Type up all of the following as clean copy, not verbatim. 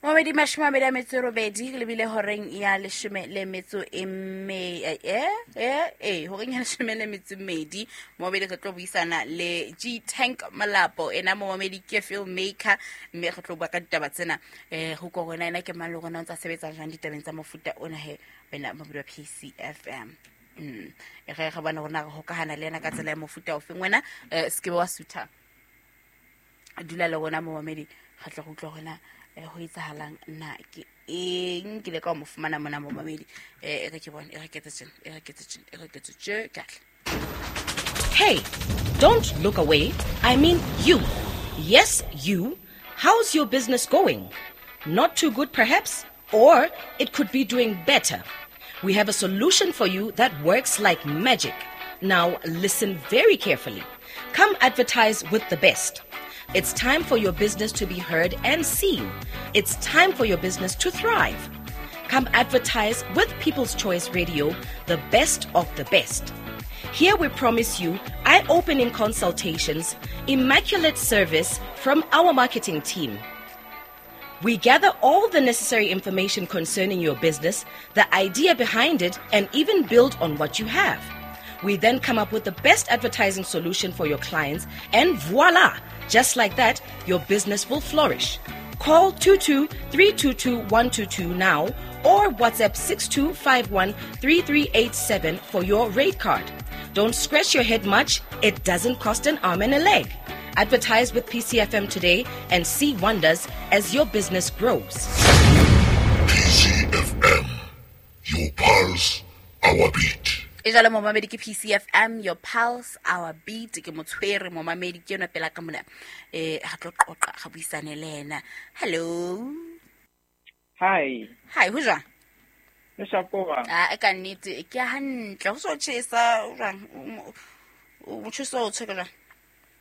Momedi 28 lebile horeng ya leshome le metso e me horeng ya 12. Momedi re tlo buisana le G Tank Molapo, ena momedi ke filmmaker, mme re tlo bua ka ditaba tsena. Ho ko rona ena ke mang le rona o ntsa sebetsa jwang ditabeng tsa mofuta ona he wena momedi wa PCFM. Re re bona rona re hokahana le ena ka tsela ya mofuta ofeng wena, se ke wa sutha, dula le rona momamedi, re tlo go utlwa rona ho etsahalang na ke eng ke le ka mo fumana mona momamedi. E re ke bone, e re ke tse e re ke tse e re ke tse ke atle. Hey, don't look away. I mean you. Yes, you. How's your business going? Not too good perhaps, or it could be doing better. We have a solution for you that works like magic. Now listen very carefully. Come advertise with the best. It's time for your business to be heard and seen. It's time for your business to thrive. Come advertise with People's Choice Radio, the best of the best. Here we promise you eye-opening consultations, immaculate service from our marketing team. We gather all the necessary information concerning your business, the idea behind it, and even build on what you have. We then come up with the best advertising solution for your clients, and voila! Just like that, your business will flourish. Call 22-322-122 now or WhatsApp 6251-3387 for your rate card. Don't scratch your head much. It doesn't cost an arm and a leg. Advertise with PCFM today and see wonders as your business grows. PCFM, your pulse, our beat. E jalo momamedi ke PCFM, your pulse, our beat. Ke motshwere momamedi ke yona pela ka mona. Ga tlo qoqa, ga buisane le ena. Hello. Hi. Hi, ho jwang? Le shapoa. Ah, ka nnete ke hantle. Ho so tjhesa jwang? O motjheso o tshwere jwang?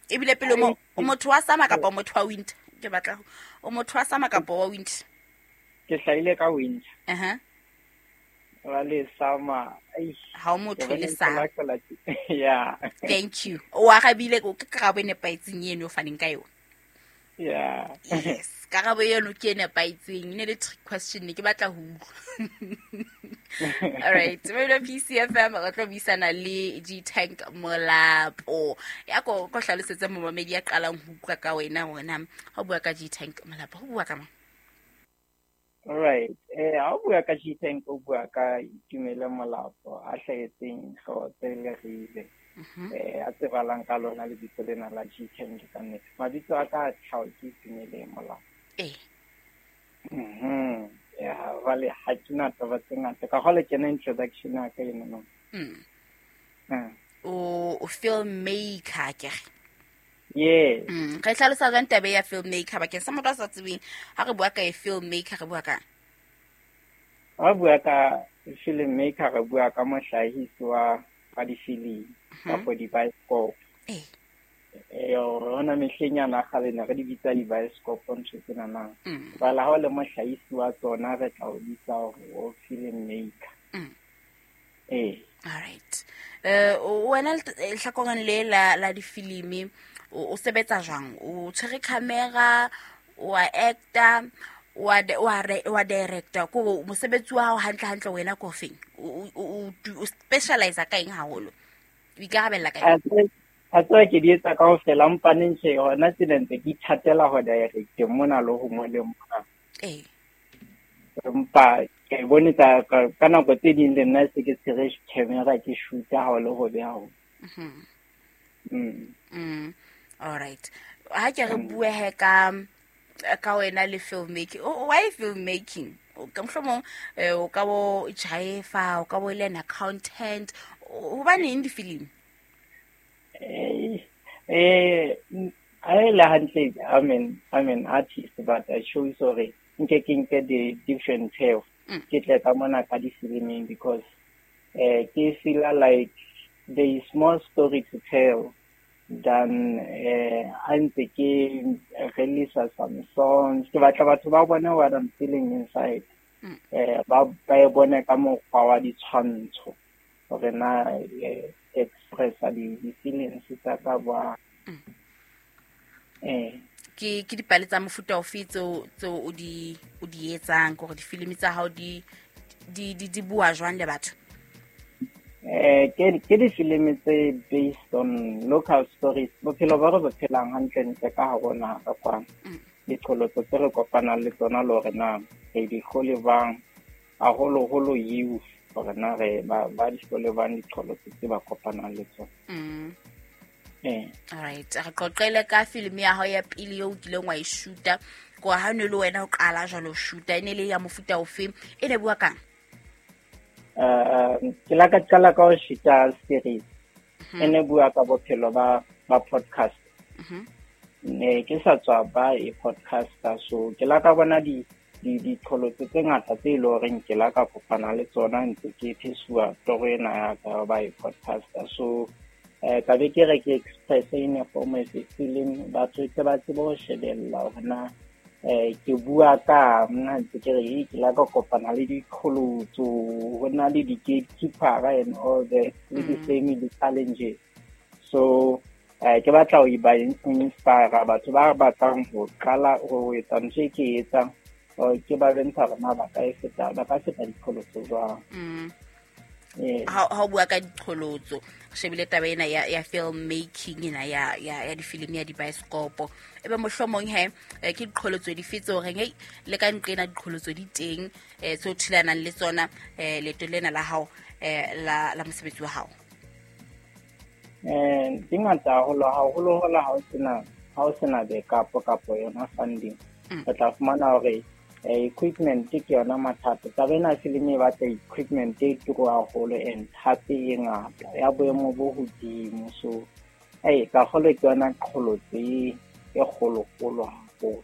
Ebile pele mo o motho wa summer kapa motho wa winter? Ke batla o motho wa summer kapa wa winter? Ke hlahile ka winter. Wa le summer. Ha o motho le summer. Yeah. Thank you. O arabile ke karabo e nepahetseng eno o faneng ka yona. Yeah. Yes, karabo eno ke e nepahetseng. Ne le trick question ne ke batla ho utlwa. All right, mo PCFM re tlo buisana le G Tank Molapo. Ya ko ko hlalosetse momamedi ya qalang ho utlwa ka wena hona. Ha o bua ka G Tank Molapo, ho bua ka mang? All right. Ha o bua ka G Tank, o bua ka Itumele Molapo, a hlahetseng Hlotse Leribe. A tsebalang ka lona lebitso lena la G Tank ka nnete. Mabitso a ka tlhaho ke Itumele Molapo. Ya, jwale ha ke na taba tse ngata. Ka hole kena introduction ya ka eno no. O filmmaker ke. Yes. Re hlalosa jwang taba ya filmmaker bakeng sa motho a sa tsebeng? Ha re bua ka filmmaker re bua ka? Ha bua ka filmmaker re bua ka mohlahisi wa difilimi kapa di-bioscope. Rona mehleng yana kgale ne re di bitsa di-bioscope ntho tsena na. Jwale ha o le mohlahisi wa tsona re tla o bitsa hore o filmmaker. All right. Wena lehlakoreng le la difilimi o sebetsa jwang? O tshwere camera, o a actor, o a director. Ko mosebetsi wa hao hantle hantle wena ko feng? O specialize ka eng haholo? O ikarabella ka eng? A tswa ke di etsa kaofela, mpa neng tjhe hona tsena ntse ke ithatela ho direct mona le ho mo le mona. Empa ke bone tsa ka nako tse ding le nna se ke tshwere camera ke shoota ha o le ho beha ho. All right. Ha ke re bue he ka wena le filmmaking. Why filmmaking? Ka mohlomong o ka bo jaefa, o ka bo le an accountant. Hobaneng di-film? I le hantle, I'm an artist, but I chose hore nke ke nke the different path. Ke tle ka mona ka di-filming because ke feel like there is more story to tell than a ntse ke release some songs. Ke batla batho ba bone what I'm feeling inside. Ba e bone ka mokgwa wa ditshwantsho hore na express di feelings tsa ka ba. Ke dipale tsa mofuta ofe tseo o di etsang, gore difilimi tsa hao di bua jwang le batho? Ke difilimi tse based on local stories, bophelo ba re bo phelang hantlentle ka hare ho naha ka kwano. Diqholotso tse re kopanang le tsona le hore na re di hlole bang, haholoholo youth, hore na re ba di hlole bang diqholotso tse ba kopanang le tsona. Alright, re qoqele ka filimi ya hao ya pele eo o kileng wa e shoota, ko ha ne le wena o qala jwalo shoota, e ne le ya mofuta ofe, e ne bua kang? Ke la ka qala ka ho shoota series. E ne bua ka bophelo ba podcast. Ne ke sa tswa ba e podcaster, so ke la ka bona diqholotso tse ngata tse e leng horeng ke la ka kopana le tsona ntse ke phesuwa toro ena ya ka ba e podcaster. So ka be ke re ke express in a form of a film, batho tle ba tsebe ho shebella hore na ke bua ka nna ntse ke re ke la ka kopana le diqholotso, ho na le di-gatekeeper and all that, le di-family challenges. So ke batla ho ba inspire batho ba batlang ho qala ho etsa ntho e ke e etsang, ke ba bontsha hore na ba ka feta diqholotso jwang. Ha o bua ka diqholotso, re shebile taba ena ya film making ena ya difilimi ya dibaesekopo, ebe mohlomong he ke diqholotso dife tse horeng hei le ka nqena diqholotso di teng tseo thulanang le tsona leeto lena la hao la mosebetsi wa hao? Di ngata haholo, haholoholo ha o sena backup kapo yona funding. O tla fumana hore equipment ke yona mathata. Taba ena filimi e batla equipment e turu haholo and hape e ngata ya boemo bo hodimo. So ka kgolo ke yona qholotso e kgolokgolo haholo.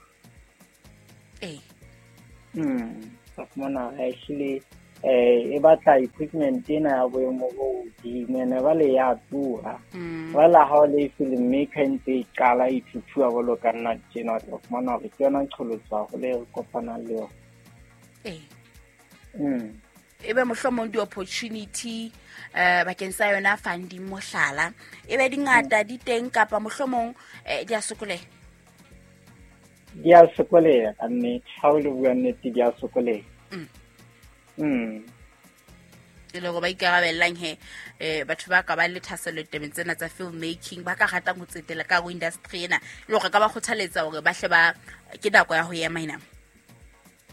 Ka fumana ehlile e batla equipment ena ya boemo bo hodimo, ene jwale ya tura. Jwale ha o le film maker ntse e qala e thuthuwa jwalo ka nna tjena, o tla fumana hore ke yona qholotso haholo e re kopanang le yona. Ebe mohlomong di-opportunity bakeng sa yona funding mohlala, ebe di ngata di teng kapa mohlomong di a sokoleha? Di a sokoleha ka nnete, ha o le bua nnete di a sokoleha. E le hore ba ikarabellang he batho ba ka ba le thahasello ditabeng tsena tsa film making, ba ka ratang ho tsetela ka ho industry ena, e le hore ka ba kgothaletsa hore ba hle ba ke nako ya ho ema ena?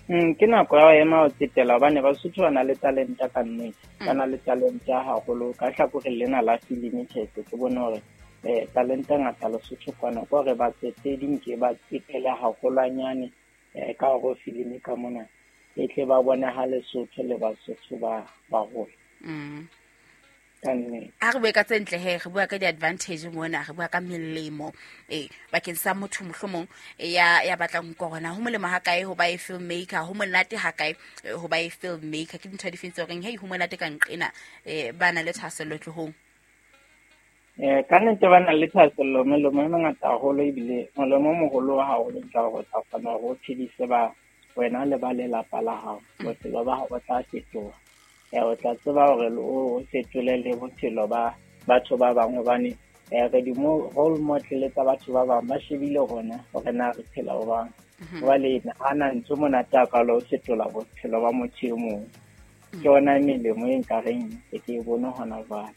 Ke nako ya ho ema ho tsetela, hobane Basotho ba na le talenta ka nnete, ba na le talenta haholo. Ka hlakoreng lena la filimi tjhe, ke bone hore talenta ngata Lesotho kwana, ke hore ba tsetedi nke ba tsetele haholwanyane ka hore filimi ka mona e tle ba bone ha Lesotho le Basotho ba baholo. Ha re bue ka tse ntle he, re bua ka di-advantage mona, re bua ka melemo bakeng sa motho mohlomong ya batlang ho korona. Ho molemo ha kae ho ba e filmmaker, ho monate ha kae ho ba e filmmaker? Ke dintho difeng tse horeng hei ho monate ka nqena ba na le thahasello tlohong? Ka nnete ba na le thahasello, melemo e mengata haholo, ebile molemo o moholo haholo ke hore o tla kgona hore o phedise ba wena le ba lelapa la hao. Bophelo ba hao bo tla fetoha. O tla tseba hore o fetole le bophelo ba batho ba bang, hobane re di role model tsa batho ba bang, ba shebile rona hore na re phela jwang. Jwale ha na ntho monate hakalo ho fetola bophelo ba motho e mong. Ke yona melemo e nkareng ke e bone hona jwale.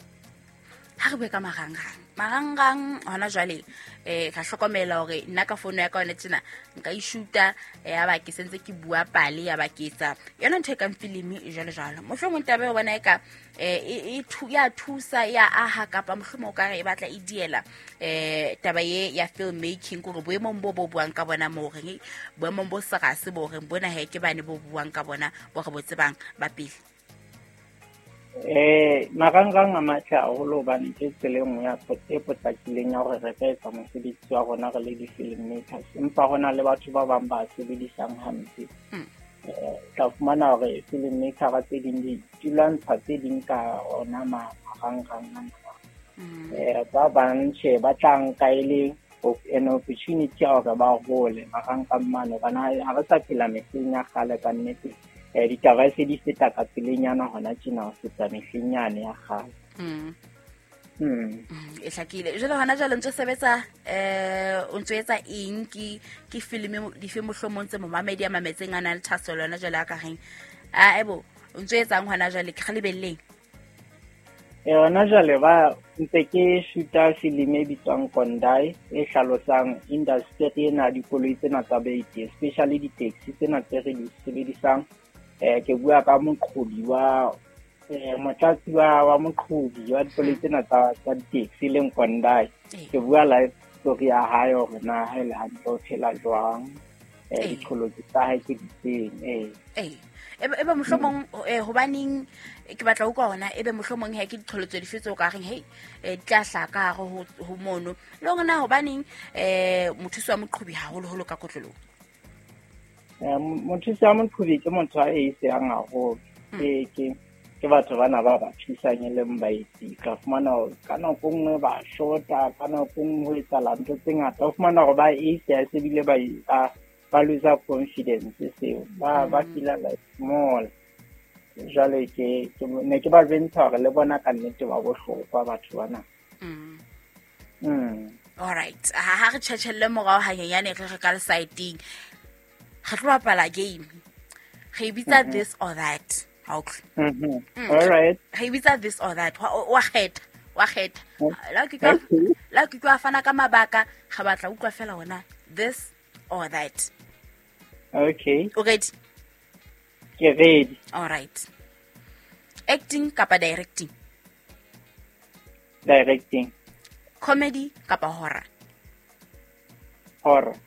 Ha re bue ka marangrang, marangrang hona jwale ka hlokomela hore nna ka fono ya ka yona tjena nka e shoota, ya ba ke sentse ke bua pale, ya ba ke etsa yona ntho e kang filimi jwalo jwalo. Mohlomong taba eo bona eka ya thusa, ya aha, kapa mohlomong o ka re e batla e diela taba ye ya film making, kore boemong bo bo buang ka bona moo reng boemong bo serase bo reng bona he ke bane bo buang ka bona bo re bo tsebang ba pele. Marangrang a matle haholo hobane ke tsela e nngwe ya e potlakileng ya hore re ka etsa mosebetsi wa rona re le di-film makers, empa ho na le batho ba bang ba sebedisang hampe. Tla fumana hore film maker tse ding di lwantsha tse ding ka ona marangrang ana. Ba bang tjhe ba tla nka e le an opportunity ya hore ba hole marangrang mane, hobane ha re sa phela mehleng ya kgale ka nnete. Ditaba se di feta ka pelenyana hona tjena ho feta mehleng yane ya kgale. E hlakile. Jwale hona jwale ntse sebetsa o ntse etsa eng, ke film dife mohlomong tse momamedi a mametseng a nang le thahasello yona jwale a ka reng a ebo o ntse etsang hona jwale, ke re lebelleng? Hona jwale ba ntse ke shoota film e bitswang Kondai, e hlalosang industry ena dikoloi tsena tsa baeti, especially di-taxi tsena tse re di sebedisang. Ke bua ka moqhobi wa motlatsi wa moqhobi wa dikoloi tsena tsa di-taxi leng Kondai. Ke bua life story ya hae hore na ha ele hantle o phela jwang, diqholotso tsa hae ke difeng. Ebe mohlomong hobaneng ke batla utlwa hona, ebe mohlomong he ke diqholotso dife tseo ka reng hei di tla hlaha ka hare ho mono, le hore na hobaneng mothusi wa moqhobi haholoholo ka kotloloho? Mothusi wa moqhobi ke motho a eisehang haholo. Ke batho bana ba ba thusang e leng baetsi. Ka fumana hore ka nako nngwe ba shota, ka nako nngwe ho etsahala ntho tse ngata. O fumana hore ba eiseha se bile ba lose confidence seo. Ba feel-a like small. Jwale ke ne ke ba jwentsha hore le bona ka nnete ba bohlokwa batho bana. All right. Ha re tjhetjhelle morao hanyenyane re re ka lesaeteng. Re tlo bapala game. Re bitsa this or that. Okay. All right. Re bitsa this or that. Wa kgetha, wa kgetha. La ke kwa fana ka mabaka, ga batla utlwa fela hona this or that. Okay. O ready? Ke ready. All right. Acting kapa directing? Directing. Comedy kapa horror? Horror.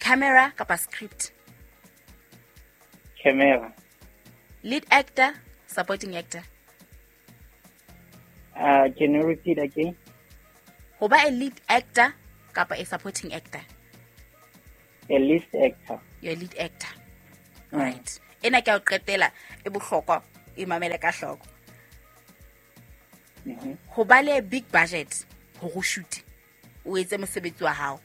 Camera kapa script? Camera. Lead actor, supporting actor? Can you repeat again? Ho ba a lead actor kapa a supporting actor? A lead actor. You're a lead actor. All right. Ena ke a o qetela e bohlokwa, e mamele ka hloko. Ho ba le big budget hore o shoot, o etse mosebetsi wa hao,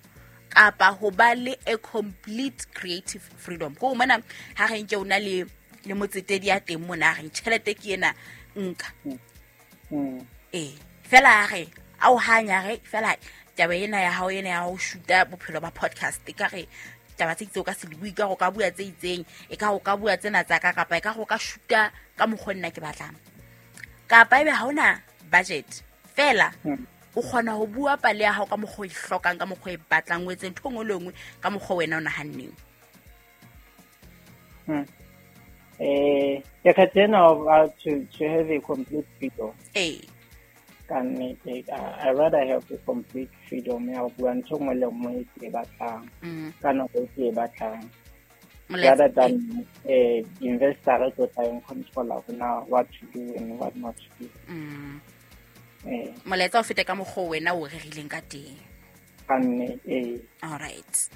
kapa ho ba le a complete creative freedom. Ko mona ha re nke o na le motsetedi ya teng mona, re tjhelete ke ena nka. Fela re a o hanya re fela taba ena ya hao ena ya ho shoota bophelo ba podcast, e ka re taba tse itseng o ka se di bue, ka go ka bua tse itseng, e ka go ka bua tsena tsa ka, kapa e ka go ka shoota ka mokgwa nna ke batlang, kapa ebe ha ona budget fela o kgona ho bua pale ya hao ka mokgwa o e hlokang, ka mokgwa o e batlang, o etse ntho engwe le engwe ka mokgwa wena o nahanneng. Ke kgetha ena to have a complete freedom. Ka nnete, I rather have a complete freedom ya ho bua ntho engwe le engwe e ke e batlang, ka nako e ke e batlang, rather than investor e tlo tla e control-a hore na what to do and what not to do. Molaetsa o fete ka mokgwa wena o rerileng ka teng. Ka nnete. All right.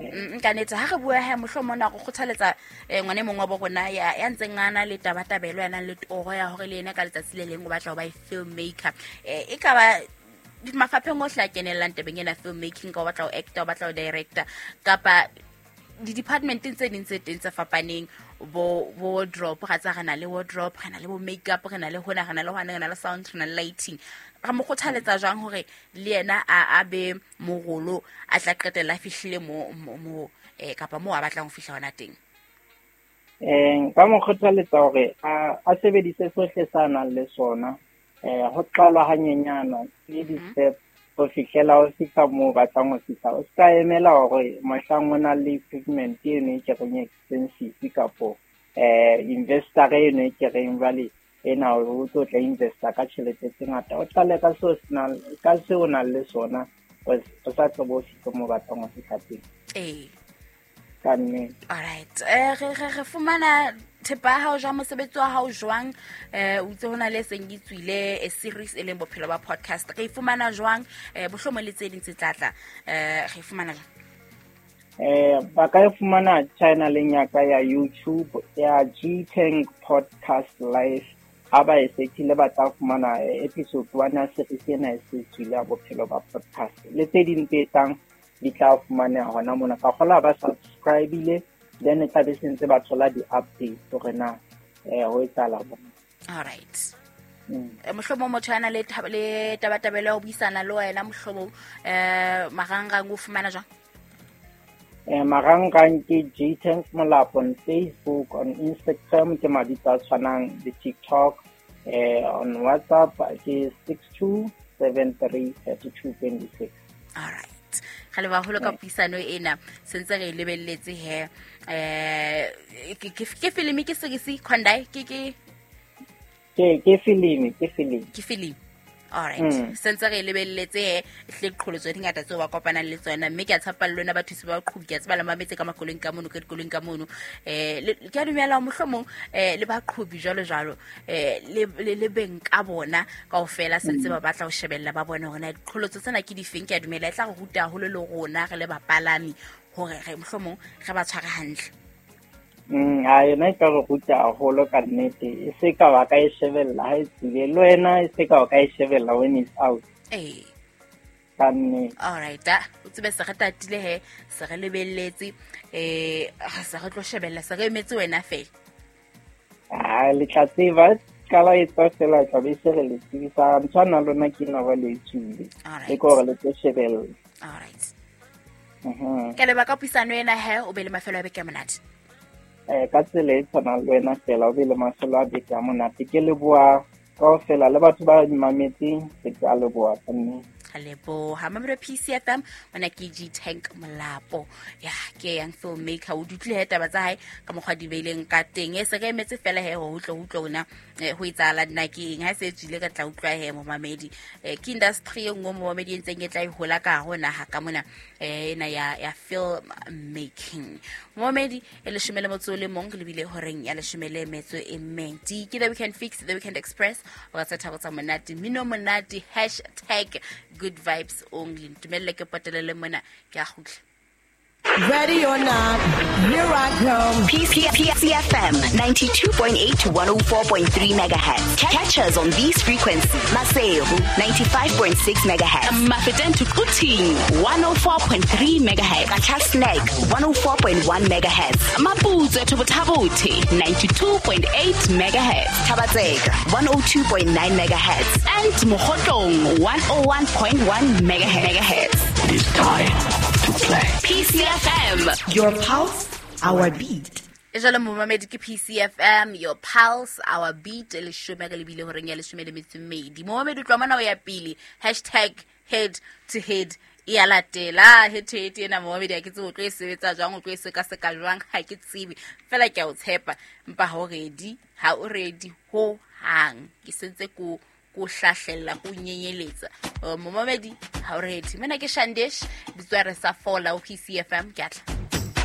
Nka nete ha re bua ha mohlomong na go kgothaletsa ngwane mongwe wa bo rona ya ntseng a na le tabatabelo, ya nang le toro ya hore le yena ka letsatsi le leng o batla ho ba filmmaker. E ka ba mafapheng ohle a kenellang tabeng ena filmmaking, ka o batla ho actor, o batla ho director, kapa di-departmenteng tse ding tse teng tse fapaneng, bo wardrobe, ga tsa re na le wardrobe, re na le bo makeup, re na le hona, re na le hona, re na le sound, re na le lighting. Re mo kgothaletsa jwang hore le yena a be morolo, a tla qetella a fihlile mo kapa mo a batlang ho fihla hona teng? Nka mo kgothaletsa hore a sebedise sohle sa nang le sona, ho qalwa hanyenyana, le di-step ho fihlela ho fihla moo batlang ho fihla. O ska emela hore mohlang o na le equipment eno e ke reng expensive, kapo investor eno e ke reng jwale ena o tlo tla investa ka tjhelete tse ngata. O qale ka seo ka seo o nang le sona, o sa tlo bo fihla moo batlang ho fihla teng. Ka nnete. All right. Re fumana thepa ya hao jwang, mosebetsi wa hao jwang? O itse hona le seng e tswile a series e leng bophelo ba podcast. Re fumana jwang? Bohlomong le tse ding tse tlatla. Re fumana jwang? Ba ka e fumana channel-eng ya ka ya YouTube ya G-Tank Podcast Live. Ha ba e search-ile ba tla fumana episode 1 ya series ena e se tswile ya bophelo ba podcast. Le tse ding tse tlang di tla fumaneha hona mona. Ka kgola ba subscribe-ile, then e tla be sentse ba thola di-updates hore na ho etsahala bona. All right. Mohlomong motho a na le le tabatabelo ya ho buisana le wena, mohlomong marangrang o fumana jwang? Marangrang ke G Tank Molapo on Facebook, on Instagram ke mabitso a tshwanang le TikTok, on WhatsApp ke 62733226. All right, ga le baholo ka puisano ena, sentse re e lebelletse he. Ke filimi, ke series, Khondai, ke ke ke filimi, ke filimi. Ke filimi, alright. Sentse re e lebelletse he, hle diqholotso di ngata tseo ba kopanang le tsona, mme ke a tshepa le lona bathusi ba baqhobi, ke a tseba le mametse ka makoloing ka mono, ka dikoloing ka mono. Ke a dumela mohlomong le baqhobi jwalo jwalo, le beng ka bona kaofela sentse ba batla ho shebella, ba bone hore na diqholotso tsena ke difeng. Ke a dumela e tla re ruta haholo le rona re le bapalami hore re mohlomong re ba tshware hantle. A yona e ka re ruta haholo ka nnete, e se ka wa ka e shebella ha e tswile, le wena e se ka wa ka e shebella when it's out. Ee. Ka nnete. Alright, o tsebe se re tatile he, se re lebelletse, se re tlo shebella, se re emetse wena fela. A le tla tseba qala e tswa fela, tla be se re le tsebisa ntho ana lona ke ena ba le tswile. Alright. E ke hore le tlo shebella. Alright. Ke leba ka puisano ena he, o be le mafelo a beke a monate. Ka tsela e tshwanang le wena fela, o be le mafelo a beke a monate. Ke leboha kaofela le batho ba mametseng, ke tla leboha ka nnete. Ka leboha mamelo PCFM, mona ke G Tank Molapo, ya ke young filmmaker, o dutlile he taba tsa hae ka mokgwa di beileng ka teng. E se re emetse fela he ho utlwa, ho utlwa ona, ho etsahala nna ke eng ha se e tswile, ka tla utlwa he momamedi. Ke industry e nngwe momamedi e ntseng e tla e hola ka hare ho naha ka mona, ena ya film making. Momamedi, e 11, re lebile horeng ya 12. Ke The Weekend Fix, The Weekend Express, o ka tsa thabo tsa monate, mmino monate, hashtag good vibes only. Ntumelle ke potelele mona, ke a kgutla. Ready or not, here I come. PCFM 92.8 to 104.3 megahertz. Catch us on these frequencies. Maseru 95.6 megahertz. Mafeteng to Quthing 104.3 megahertz. Qacha's Nek 104.1 megahertz. Maputswe to Botha-Bothe 92.8 megahertz. Thaba-Tseka 102.9 megahertz. And Mokhotlong 101.1 megahertz. It is time to play. PCFM. Your pulse, our beat. E jalo momamedi, ke PCFM, your pulse, our beat, leshome re lebile horeng ya 12. Momamedi, utlwa mona o ya pele, hashtag head to head e ya latela. Head to head ena momamedi, ha ke tsebe o tlo e sebetsa jwang, o tlo e sekaseka jwang, ha ke tsebe, fela ke a o tshepa, empa ha o ready, ha o ready ho hang. Ke sentse ko ko hlahlella, ko nyenyeletsa. Momamedi, ha o ready. Mona ke Shandesh, bitswa re sa fola ho PCFM, ke a tla.